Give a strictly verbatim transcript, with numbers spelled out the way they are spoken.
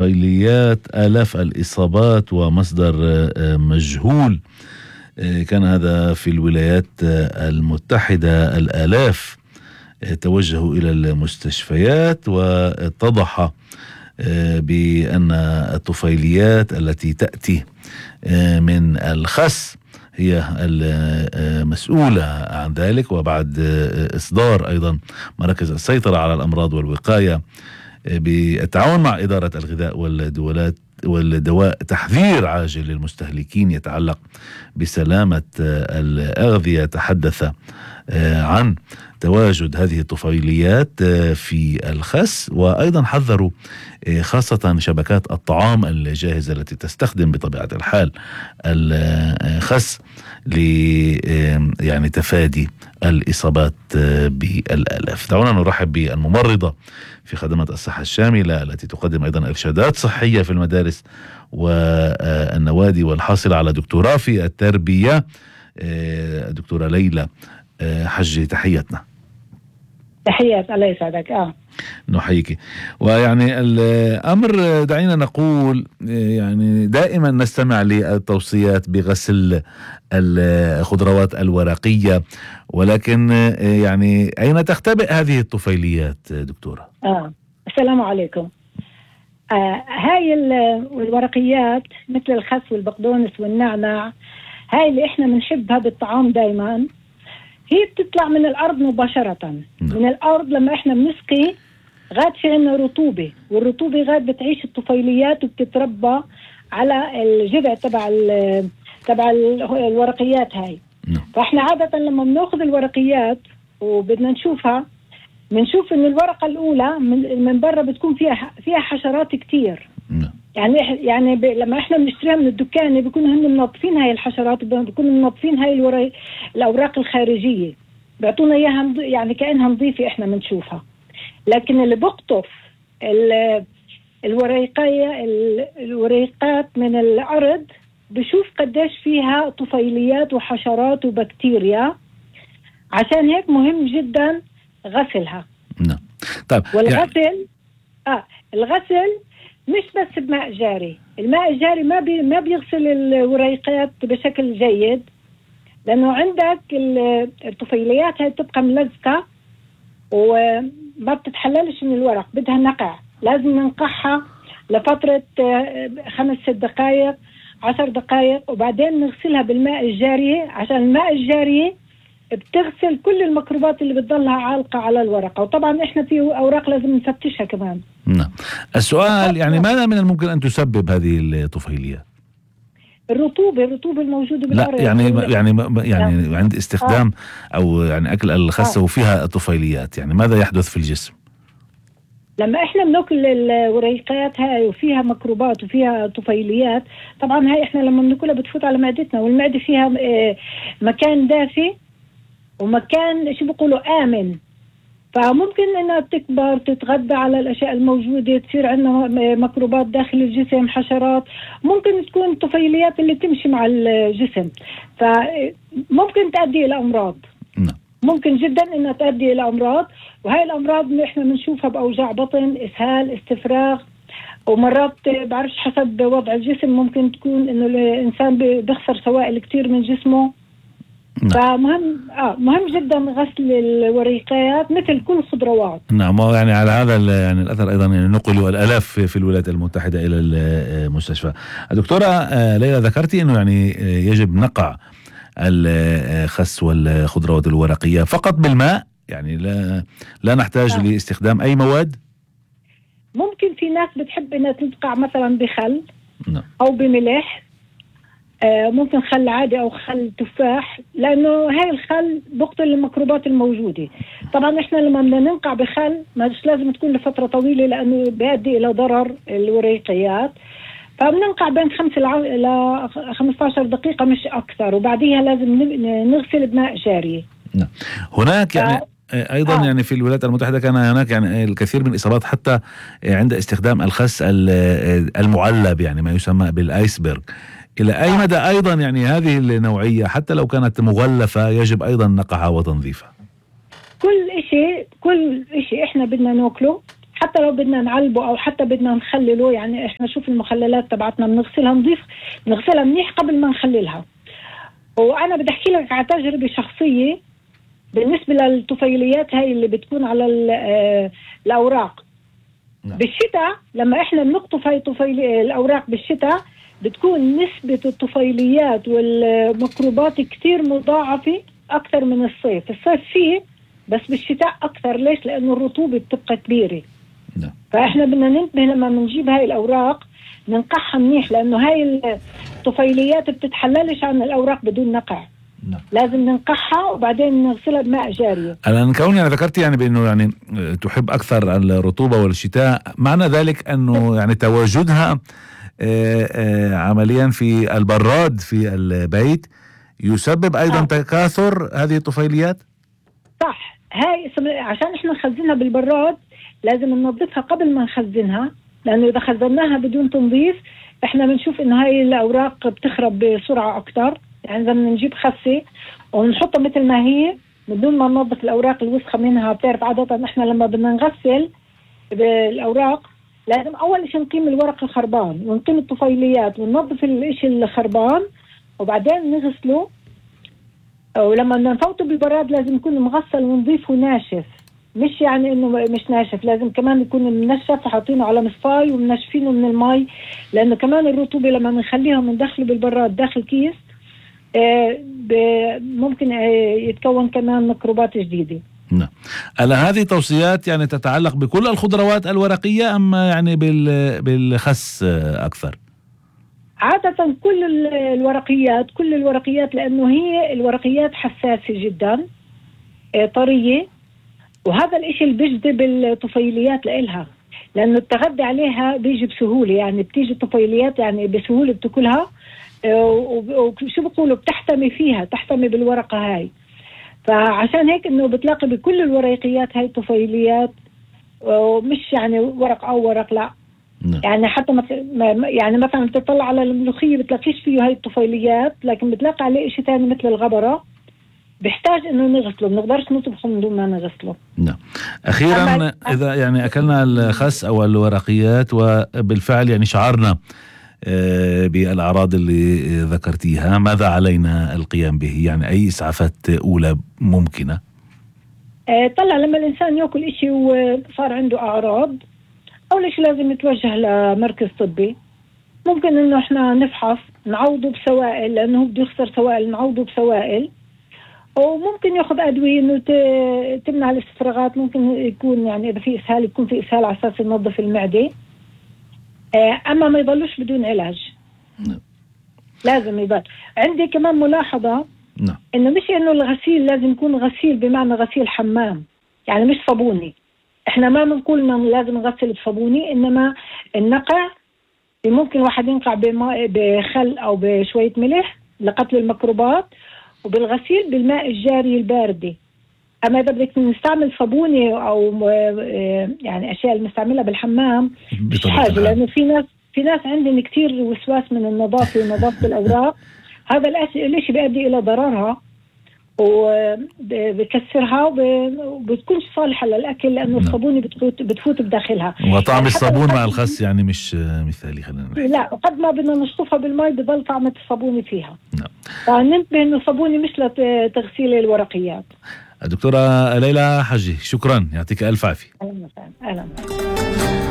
طفيليات آلاف الإصابات ومصدر مجهول. كان هذا في الولايات المتحدة. الآلاف توجهوا إلى المستشفيات، واتضح بأن الطفيليات التي تأتي من الخس هي المسؤولة عن ذلك. وبعد إصدار أيضا مراكز السيطرة على الأمراض والوقاية بالتعاون مع إدارة الغذاء والدولات والدواء تحذير عاجل للمستهلكين يتعلق بسلامة الأغذية، تحدث عن تواجد هذه الطفيليات في الخس، وأيضا حذروا خاصة شبكات الطعام الجاهزة التي تستخدم بطبيعة الحال الخس ل يعني تفادي الإصابات بالآلاف. دعونا نرحب بالممرضة في خدمات الصحة الشاملة التي تقدم أيضا إرشادات صحية في المدارس والنوادي، والحاصلة على دكتوراه في التربية، الدكتورة ليلى حجي. تحياتنا. تحيات، الله يسعدك. اه نحييك. ويعني الأمر دعينا نقول يعني دائما نستمع للتوصيات بغسل الخضروات الورقية، ولكن يعني أين تختبئ هذه الطفيليات دكتورة؟ اه السلام عليكم. آه هاي الورقيات مثل الخس والبقدونس والنعناع، هاي اللي احنا بنحبها بالطعام دايما، هي بتطلع من الأرض مباشرة. من الأرض لما إحنا بنسقي غاد في عنا رطوبة، والرطوبة غاد بتعيش الطفيليات وبتتربى على الجذع تبع تبع الورقيات هاي. فإحنا عادة لما بناخذ الورقيات وبدنا نشوفها، بنشوف إن الورقة الأولى من من برا بتكون فيها فيها حشرات كتير. يعني يعني ب... لما احنا بنشتريها من الدكان بيكونوا هن منظفين هاي الحشرات، بيكونوا منظفين هاي الورق... الاوراق الخارجيه، بيعطونا اياها مض... يعني كانها نظيفه احنا بنشوفها. لكن اللي بقطف ال... الوريقيه ال... الوريقات من الارض بشوف قديش فيها طفيليات وحشرات وبكتيريا، عشان هيك مهم جدا غسلها. نعم. طيب والغسل يعني... اه الغسل مش بس بماء جاري. الماء الجاري ما بي ما بيغسل الوريقات بشكل جيد، لأنه عندك الطفيليات هاي تبقى ملزقة وما بتتحللش من الورق، بدها نقع. لازم ننقعها لفترة خمس ست دقائق عشر دقائق، وبعدين نغسلها بالماء الجاري، عشان الماء الجاري بتغسل كل الميكروبات اللي بتضلها عالقة على الورقة. وطبعا احنا في اوراق لازم نفتشها كمان. نعم. السؤال يعني ماذا من الممكن ان تسبب هذه الطفيليات؟ الرطوبة الرطوبة الموجودة بالأرض. لا يعني يعني يعني عند استخدام آه. او يعني اكل الخس آه. وفيها طفيليات، يعني ماذا يحدث في الجسم؟ لما احنا بناكل الوريقات هاي وفيها ميكروبات وفيها طفيليات، طبعا هاي احنا لما بناكلها بتفوت على معدتنا، والمعدة فيها مكان دافي ومكان شو بيقولوا آمن، فممكن انها تكبر تتغذى على الاشياء الموجودة، تصير عندنا ميكروبات داخل الجسم، حشرات، ممكن تكون طفيليات اللي تمشي مع الجسم، فممكن تؤدي الى امراض. ممكن جدا انها تؤدي الى امراض، وهي الامراض احنا بنشوفها باوجاع بطن، اسهال، استفراغ، ومرات بعرفش حسب وضع الجسم ممكن تكون انه الانسان بيخسر سوائل كتير من جسمه. نعم. فمهم اه مهم جدا غسل الوريقات مثل كل الخضروات. نعم. يعني على هذا يعني الاثر ايضا يعني نقلوا الالاف في الولايات المتحده الى المستشفى. الدكتوره ليلى ذكرتي انه يعني يجب نقع الخس والخضروات الورقيه فقط بالماء، يعني لا لا نحتاج آه. لاستخدام اي مواد. ممكن في ناس بتحب انها تنقع مثلا بخل. نعم. او بملح، آه ممكن خل عادي او خل تفاح، لانه هاي الخل بقتل الميكروبات الموجوده. طبعا احنا لما بدنا ننقع بخل مش لازم تكون لفتره طويله، لانه بيؤدي الى ضرر الوريقيات، فبننقع بين خمس الى خمسة عشر دقيقه مش اكثر، وبعديها لازم نغسل بماء جاري. نعم. هناك يعني ايضا آه. يعني في الولايات المتحده كان هناك يعني الكثير من الاصابات حتى عند استخدام الخس المعلب، يعني ما يسمى بالايسبرغ. إلى أي مدى أيضا يعني هذه النوعية حتى لو كانت مغلفة يجب أيضا نقعها وتنظيفها؟ كل إشي كل إشي إحنا بدنا ناكله حتى لو بدنا نعلبه أو حتى بدنا نخلله، يعني إحنا شوف المخللات تبعتنا بنغسلها نضيف نغسلها منيح قبل ما نخللها. وأنا بدي أحكي لك على تجربة شخصية بالنسبة للطفيليات هاي اللي بتكون على الأوراق. نعم. بالشتاء لما إحنا بنقطف هاي طفيلي الأوراق بالشتاء بتكون نسبة الطفيليات والميكروبات كتير مضاعفة أكثر من الصيف. الصيف فيه بس بالشتاء أكثر. ليش؟ لأنه الرطوبة بتبقى كبيرة. نعم. فإحنا بدنا ننتبه لما بنجيب هاي الأوراق ننقعها منيح، لأنه هاي الطفيليات بتتحللش عن الأوراق بدون نقع. نعم. لازم ننقعها وبعدين نغسلها بماء جارية. أنا كوني يعني ذكرت يعني بأنه يعني تحب أكثر الرطوبة والشتاء، معنى ذلك أنه يعني تواجدها آآ آآ عمليا في البراد في البيت يسبب أيضا آه. تكاثر هذه الطفيليات؟ صح. هاي عشان إحنا نخزنها بالبراد لازم ننظفها قبل ما نخزنها، لأنه إذا خزناها بدون تنظيف إحنا بنشوف إنه هاي الأوراق بتخرب بسرعة أكتر. يعني إذا بنجيب خسة ونحطها مثل ما هي بدون ما ننظف الأوراق الوسخة منها، بتعرف عادة إحنا لما بدنا نغسل بالأوراق لازم أول شيء نقيم الورق الخربان ونقيم الطفيليات وننظف الإشي الخربان وبعدين نغسله. ولما بدنا نفوته بالبراد لازم يكون مغسل ونظيف وناشف، مش يعني إنه مش ناشف، لازم كمان يكون منشف وحاطينه على مصفاي ومنشفينه من المي، لأنه كمان الرطوبة لما بنخليها وندخله بالبراد داخل كيس آه ممكن آه يتكون كمان ميكروبات جديدة. نعم. هلا هذه توصيات يعني تتعلق بكل الخضروات الورقية أم يعني بالخس أكثر؟ عادة كل الورقيات كل الورقيات لأنه هي الورقيات حساسة جدا آه طرية، وهذا الاشي اللي بيجذب الطفيليات لإلها، لأنه التغذي عليها بيجي بسهولة. يعني بتيجي الطفيليات يعني بسهولة بتاكلها، وشو بقولوا بتحتمي فيها تحتمي بالورقة هاي. فعشان هيك إنه بتلاقي بكل الورقيات هاي طفيليات، ومش يعني ورق أو ورق لا. م. يعني حتى يعني مثلا بتطلع على الملوخية بتلاقيش فيه هاي الطفيليات، لكن بتلاقي عليه إشي تاني مثل الغبرة بيحتاج إنه نغسله، بنقدرش نطبخه من دون ما نغسله. نعم. أخيرا إذا يعني أكلنا الخس أو الورقيات وبالفعل يعني شعرنا بالأعراض اللي ذكرتيها، ماذا علينا القيام به؟ يعني أي إسعافات أولى ممكنة؟ طلع لما الإنسان يأكل إشي وصار عنده أعراض أول شيء لازم يتوجه لمركز طبي. ممكن إنه إحنا نفحص نعوضه بسوائل، لأنه بده يخسر سوائل، نعوضه بسوائل. وممكن ياخذ أدوية إنه تمنع الاستفراغات. ممكن يكون يعني إذا في إسهال يكون في إسهال على أساس ينظف المعدة. أما ما يضلوش بدون علاج. نعم. لازم يضل. عندي كمان ملاحظة. نعم. إنه مش إنه الغسيل لازم يكون غسيل بمعنى غسيل حمام، يعني مش صابوني. إحنا ما بنقول إنه لازم نغسل بصابوني، إنما النقع ممكن واحد ينقع بماء بخل أو بشوية ملح لقتل الميكروبات، وبالغسيل بالماء الجاري الباردة. أما إذا بدك نستعمل صابونة أو يعني أشياء المستعملة بالحمام مش حاجة، لأنه في ناس في ناس عندهم كتير وسواس من النظافة ونظافة الأوراق. هذا الشيء بيؤدي إلى ضررها وبكسرها وبتكونش صالحة للأكل، لأنه الصابونة بتفوت بتفوت بداخلها. وطعم الصابون مع الخس يعني مش مثالي. خلينا نحكي. لا، قد ما بدنا نشطفها بالماء بضل طعمة الصابونة فيها. نعم. فننتبه إنه الصابونة مش لتغسيل الورقيات. الدكتورة ليلى حجي، شكرا، يعطيك ألف عافية. أهلا وسهلا.